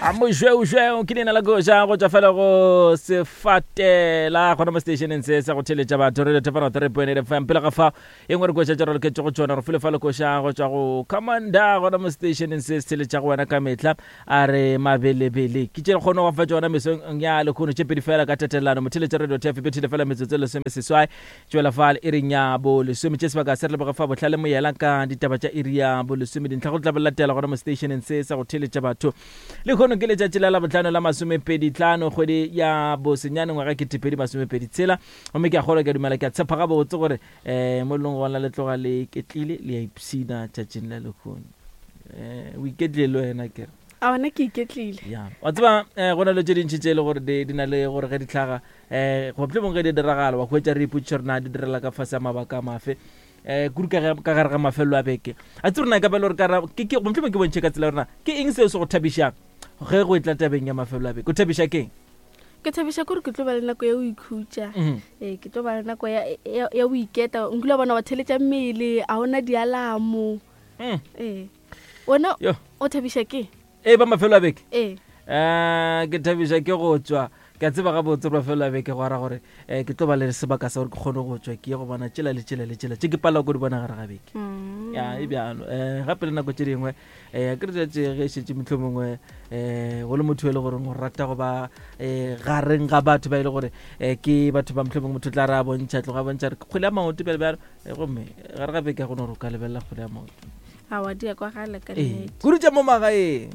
A mošweušweu ke leina la koša go tšwa fela go sefatela gona mo stationeng se sa go theletša batho radio thepana 3.8 fm pele ga fa e nngwe re koša tša raloketše go tšona re file fa le koša go tšwa go commander gona mo stationeng se se theletša go wena ka mehla a re mabelebele ke tše re kgone go fa tšona mesong ya lekgono tše pedi fela ka tatelano motheletša radio tf bethile fela metsotso e lesomeseswai Tšwela fa le iring ya bolesome. Tše sebaka se re leboge fa Bohlale Moyela ka ditaba tša iri ya bolesome. Dintlha go tla bo latela gona mo stationeng se sa go theeletša batho. Lehono ke letšatši la Labohlano la masomepedi-tlhano kgwedi ya bosenyane ngwaga 2023 tshela. Gomme ke a kgolwa, ke a dumela, ke a tshepa gabotse gore um mo leng gona le tloga le iketlile le a ipshina tšatšing la lehono. Um o iketlile le wena kere? A ona ke iketlile. Ya, wa tseba um go na le tše dintši tše e le gore di na le gore ge di hlaga um goba mohlomongwe ge di diragala wa hwetša re ipotšiša gore na di direla ka fase ya mabaka a mafe um kudu ka gare ga mafelelo a beke a tse rena ka bele gore kara mohlomongwe ke bontšhe ka tsela rena ke eng seo se go thabišang ge go etla tabeng ya mafelelo a beke o thabiša keng ke thabiša kore ke tlo ba le nako ya go ikhutša mhm. ee ke tlo ba le nako ya go iketa nkile bona wa theletša mmele a ona dialamo mm. ee wena o thabiša ke e ba mafelo a beke ee um ke thabiša ke go tswa ke a tseba gabotse gore mafelo a beke go ara gore um ke tlo ba le sebaka sa gore ke kgone go tswa ke ye go bona tšela le tšela le tšela tše ke palela ko di bona gare ga beke mm. ya e bjalo um gape le nako tše dingwe um ke re tšatše ge šetše motlho mongwe um go le motho e le goreng o rata go ba um gareng ga batho ba e le gore um ke batho ba motlho mongwe motho tla re a bontšha tloga a bontšha re kgwele ya maoto bjale bjalo gomme gare ga beke go no gore o ka lebelela kgwele ya maoto awa di ya kwagala ka nnete kudu tša mo magaeng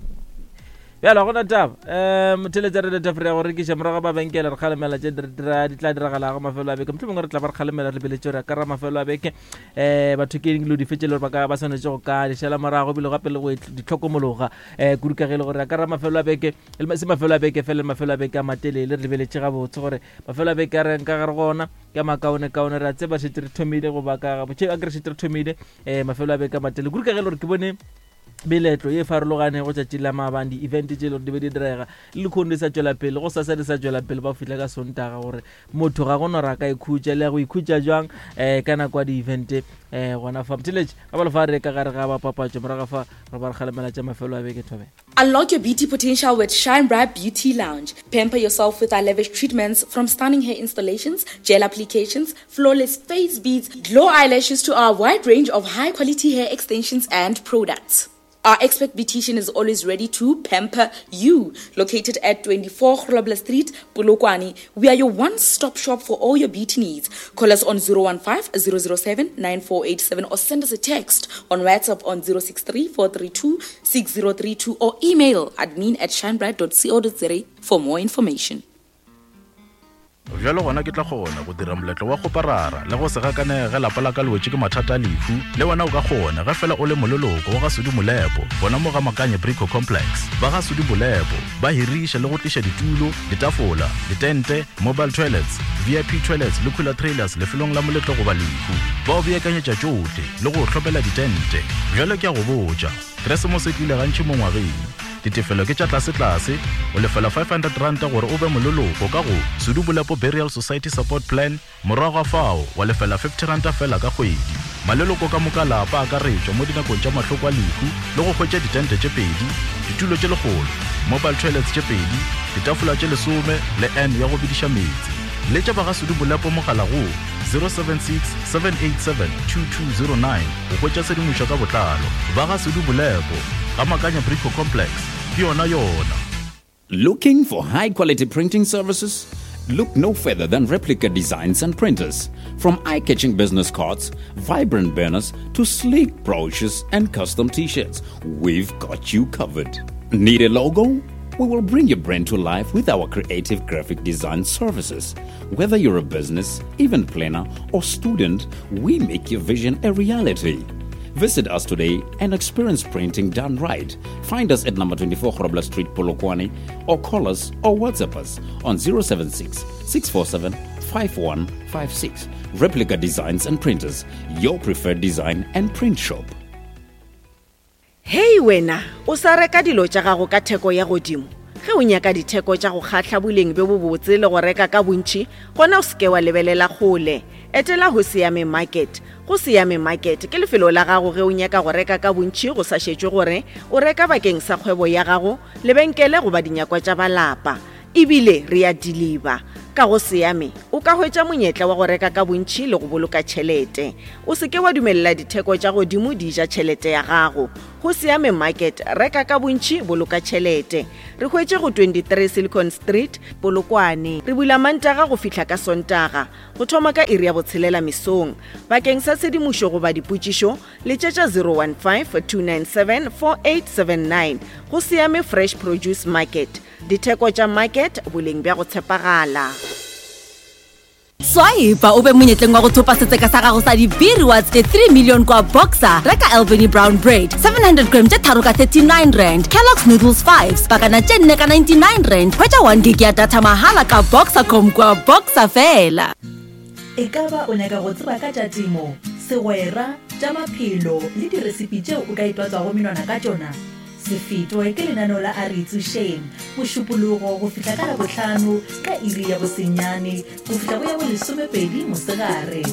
bjalo gona taba um motheletša re letafre ya go rekiša morago ga mabenkele re kgalemela tše di tla diragalago mafelo a beke motlho mongwe re tla ba re kgalemela re lebeletše gore ka ra mafelo a beke um batho ke dilo dife tše le gore ba ka ba swanetše go ka di šala morago ebile gape le go di tlhokomologa um kudu ka ge e le gore ka ra mafelo a beke se mafelo a beke fela le mafelo a beke a matelele re lebeletše gabotse gore mafelo a beke a reng ka gare gona ke a makaonekaone re a tseba šetse re thomile go baka a ke re šetse re thomile um mafelo a beka matele kudu ka ge e le gore ke bone meletlo ye e farologanego tšatši la maabane di-event tše e le gore di be di direga le lekgono di sa tšwela pele go sasa di sa tšwela pele ba fihla ka sontaga gore motho ga go no ra ka ikhutša le ya go ikhutša jwang um ka nako ya di-event um gona fa motheletše ga ba lefa re ka gare ga bapapatšo morago fa re ba re kgalemela tša mafelo a beke thobela Unlock your beauty potential with Shine Bright Beauty Lounge. Pamper yourself with our lavish treatments from stunning hair installations, gel applications, flawless face beads, glow eyelashes to our wide range of high quality hair extensions and products. Our expert beautician is always ready to pamper you. Located at 24 Grobler Street, Polokwane, we are your one-stop shop for all your beauty needs. Call us on 015 007 9487 or send us a text on WhatsApp on 063 432 6032 or email admin at shinebright.co.za for more information. Bjalo gona ke tla kgona go dira moletlo wa kgoparara le go se gakanege ge lapa la ka le wetše ke mathata a lehu. Le wena o ka kgona ge fela o le moleloko wa ga Sudi Molepo gona mo ga Makanye Brico Complex. Ba ga Sudi Molepo ba hiriša le go tliša ditulo, ditafola, ditente, mobile toilets, VIP toilets le cooler trailers lefelong la moletlo goba lehu. Ba o beakanyetša tšohle le go o hlopela ditente. Bjalo ke a go botša, Keresemose e tlile gantši mo ngwageng. Ditefelo ke tša tlasetlase, o lefela R500 gore o be moleloko ka go Sudu Bolepo Burial Society Support Plan, morago ga fao wa lefela R50 feela ka kgwedi. Maleloko ka moka a lapa a akaretšwa mo dinakong tša mahloko a lehu le go hwetša ditente tše pedi, ditulo tše lekgolo, mobile toilets tše pedi, ditafola tše lesome le urn ya go bediša meetse. Letša ba ga Sudu Bolepo mogala go 076 787 2209 go hwetša tshedimošo ka botlalo. Ba ga Sudu Bolepo, ga Makanya Brico Complex, ke yona yona. Looking for high quality printing services? Look no further than Replica Designs and Printers. From eye catching business cards, vibrant banners, to sleek brochures and custom t shirts, we've got you covered. Need a logo? We will bring your brand to life with our creative graphic design services. Whether you're a business, event planner, or student, we make your vision a reality. Visit us today and experience printing done right. Find us at number 24 Grobler Street, Polokwane, or call us or WhatsApp us on 076 647 5156. Replica Designs and Printers, your preferred design and print shop. Hei wena, o sa reka dilo tša gago ka theko ya godimo? Ge o nyaka ditheko tša go kgahla boleng bjo bobotse le go reka ka bontši, gona o se ke wa lebelela kgole. Etela Hosiame Market. Go Siame Market ke lefelo la gago ge o nyaka go reka ka bontši go sa šetšwe gore o reka bakeng sa kgwebo ya gago, lebenkele goba dinyakwa tša ba lapa. E bile re a diliba. Ka go Siame o ka hwetša monyetla wa go reka ka bontši le go boloka tšhelete. O se ke wa dumelela ditheko tša godimo di ja tšhelete ya gago. Go Siame Market, reka ka bontši, boloka tšhelete. Re hwetše go 23 Silicon Street, Polokwane. Re bula Mantaga go fihla ka Sontaga, go thoma ka iri ya botshelela mesong. Bakeng sa tshedimošo goba dipotšišo, letšetša 015-297-4879. Go Siame Fresh Produce Market, ditheko tša market, boleng bja go tshepagala. Swipa o be monyetleng wa go thopa setseka sa gago sa di-B-rewards tše 3 million kwa Boxer. Reka Albany Brown Bread 700 gram tše tharo ka 39 rand, Kellogg's Noodles 5 pakana tše nne ka 99 rand. Hwetša 1 gig ya data mahala ka Boxercom kwa Boxer fela. Ekaba o nyaka go tseba ka tša temo, segwera, tša maphelo le diresipi tšeo o ka itwatswago menwana ka tšona? Se fetwe ke lenaneo la A Re Itsošeng, Mošupologo go fihla ka Labohlano ka iri ya bosenyane go fihla go ya bolesomepedi mosegare.